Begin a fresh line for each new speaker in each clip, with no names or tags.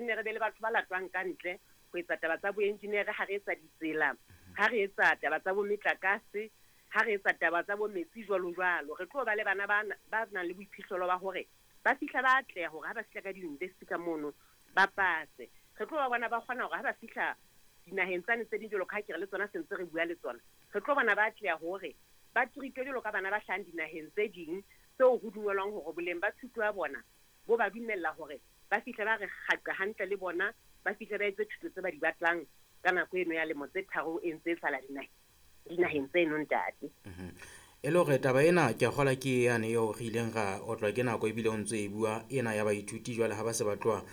nne re be le batho ba latwang ka ntle ho etsa taba tsa boenjinere, ha re etsa ditsela, ha re etsa taba tsa bo metlakase, ha re etsa taba tsa bo metsi jwalo jwalo. Re tlo ba le bana ba nang le boiphihlelo ba hore ba fihla ba atleha hore ha ba fihla ka di-university ka mono ba pase. Re tlo ba bona ba kgona hore ha ba fihla dinaheng tsane tse ding jwalo ka ha ke re le tsona se ntse re bua le tsona, re tlo bona ba atleha hore ba treatwe jwalo ka bana ba hlahang dinaheng tse ding tseo ho dumelwang hore boleng ba thuto ya bona bo ba dumella hore ba fihle ba re kgaqa hantle le bona, ba fihle ba etse thuto tse ba di batlang ka nako eno ya lemo tse 3 e ntse e sala dinaheng tseno ntate.
E le hore taba ena ke a kgolwa ke yane eo re ileng ra otlwa ke nako ebile o ntso e bua ena ya baithuti jwale ha ba se ba tloha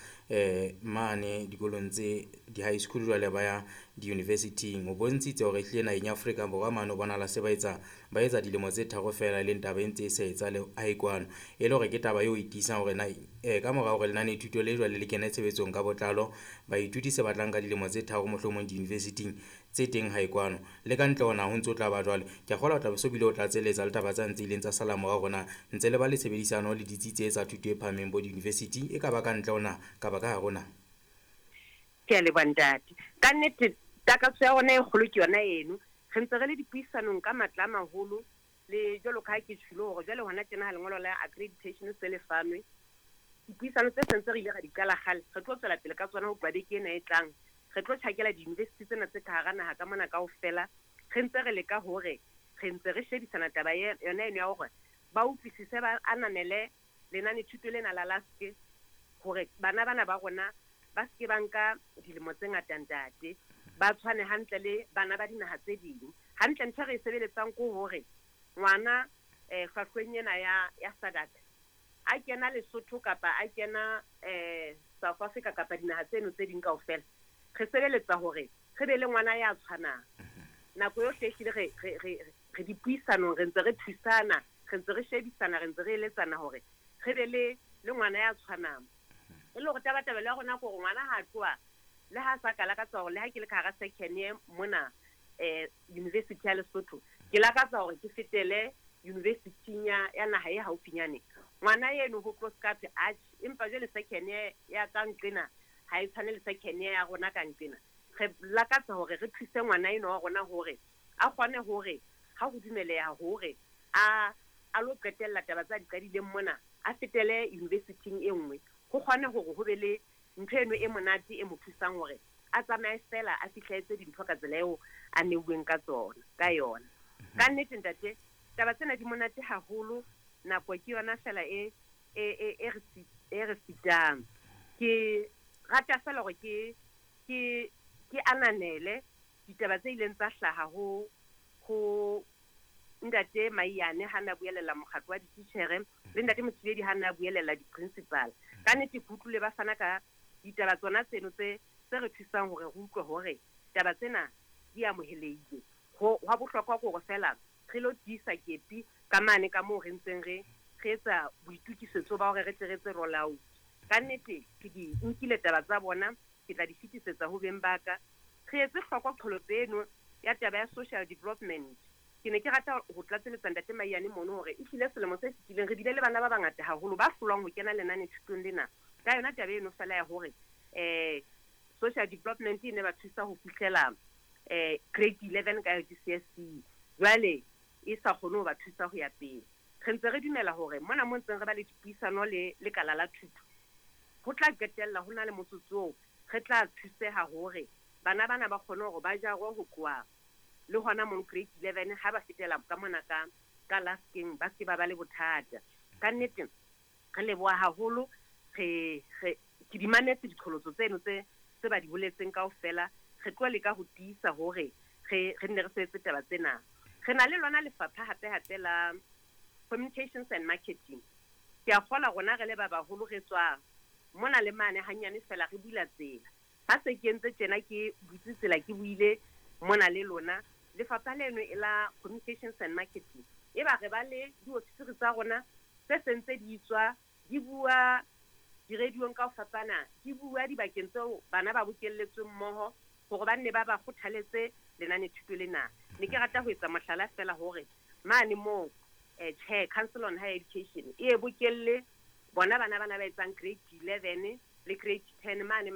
mane dikolong tse di-high school jwale ba ya di-university-ing. O bontshitse hore ehlile naheng ya Afrika Borwa mane ho bonahala se ba etsa dilemo tse 3 feela, e leng taba e ntse e sa etsahale hae kwano. E le hore ke taba eo e tiisang hore na ka mora hore lenanethuto le jwale le kene tshebetsong ka botlalo, baithuti se batlang ka dilemo tse 3 mohlomong di-university-ing tse teng hae kwano. Le ka ntle hona ho ntso tla ba jwalo. Ke a kgolwa o tla be so bile o tlatselletsa le taba tsa ntse ileng tsa sala morao rona ntse le ba le tshebedisano le ditsi tse tsa thuto e phahameng bo di-university e ka ba ka ntle hona ka ba ka hare hona.
Ke a leboha ntate. Ka nnete takatso ya rona e kgolo ke yona eno. Re ntse re le dipuisanong ka matla a maholo le jwalo ka ha ke tjholo hore jwale hona tjena ha lengolo la accreditation se le fanwe. Dipuisano tse sentse re ile ra di qala kgale, re tlo tswela pele ka tsona ho tloha beke ena e tlang. Re tlo tjhakela di-university tsena tse ka hara naha ka mona kaofela. Re ntse re leka hore re ntse re shebisana taba yona eno ya hore ba utlwisise, ba ananele lenanethuto lena la LASC hore bana bana ba rona ba se ke ba nka dilemo tse ngata ntate, ba tshwane hantle le bana ba dinaha tse ding. Hantle ntho e re e sebeletsang ke hore ngwana hlwahlweng ena ya SADC a kena Lesotho kapa a kena South Africa kapa dinaha tseno tse ding kaofela, re sebeletsa hore re be le ngwana ya tshwanang. Nako yohle ehlile re dipuisanong, re ntse re thusana, re ntse re shebisana, re ntse re eletsana hore re be le ngwana ya tshwanang. E le hore tabatabelo ya rona ke hore ngwana ha tloha le ha sa ka lakatsa hore le ha ke le ka hara second year mona University ya Lesotho, ke lakatsa hore ke fetele university ya naha e haufinyane. Ngwana eno ho tlo ska thwe atjhe, empa jwale second year ya ka nqena ha e tshwane le second year ya rona ka nqena. Re lakatsa hore re thuse ngwana eno wa rona hore a kgone hore ha ho dumeleha hore a lo qetella taba tsa di qadileng mona, a fetele university-ing e nngwe, ho kgone hore ho be le ntho eno e monate e mo thusang hore a tsamaye fela a fihletse dintho ka tsela eo a neuweng ka tsona ka yona. Ka nnete ntate, taba tsena di monate haholo, nako ke yona fela e re sitang. Ke rata fela hore ke ananele ditaba tse ileng tsa hlaha ho ntate Maiyane ha na buelela mokgatlo wa dititjhere le ntate Mothibedi ha na buelela di-principal. Ka nnete ke utlwile ba fana ka ditaba tsona tseno tse re thusang hore re utlwe hore taba tsena di amohelehile. Ho hwa bohlokwa ke hore fela re lo tiisa kepi ka mane ka moo re ntseng re etsa boitukisetso ba hore re tle re etse roll out. Ka nnete ke di nkile taba tsa bona, ke tla di fetisetsa ho beng ba ka. Re etse hloko qholotso eno ya taba ya social development. Ke ne ke rata ho tlatseletsa ntate Maiyane mono hore ehlile selemo se fetileng re bile le bana ba bangata haholo ba hlolwang ho kena lenanethutong lena ka yona taba eno fela ya hore social development e ne ba thusa ho fihlela grade 11 ka GCSE, jwale e sa kgone ho ba thusa ho ya pele. Re ntse re dumela hore mona mo ntseng re ba le dipuisano le lekala la thuto, ho tla qetella ho na le motsotso oo re tla thuseha hore bana bana ba kgone hore ba jarwe ho tloha le hona mo grade 11 ha ba fetela ka mona ka LASC-eng, ba se ba ba le bothata. Ka nnete re leboha haholo, re ke di mametse diqholotso tseno tse ba di boletseng kaofela. Re tlo leka ho tiisa hore re nne re sebetse taba tsena. Re na le lona lefapha hape hape la communications and marketing. Ke a kgolwa rona re le ba baholo re tswa mona le mane hanyane fela re bula tsela. Ha se ke entse tjena ke butse tsela ke buile mona le lona, lefapha leno e la communications and marketing e ba re ba le diofisiri tsa rona tse sentse di tswa di bua diradiong ka ho fapana, di bua dibakeng tseo bana ba bokelletsweng mmoho hore ba nne ba ba kgothaletse lenanethuto lena. Ne ke rata ho etsa mohlala fela hore mane moo tjhe Council on Higher Education e bokelle bona bana bana ba etsang grade 11 le grade 10 mane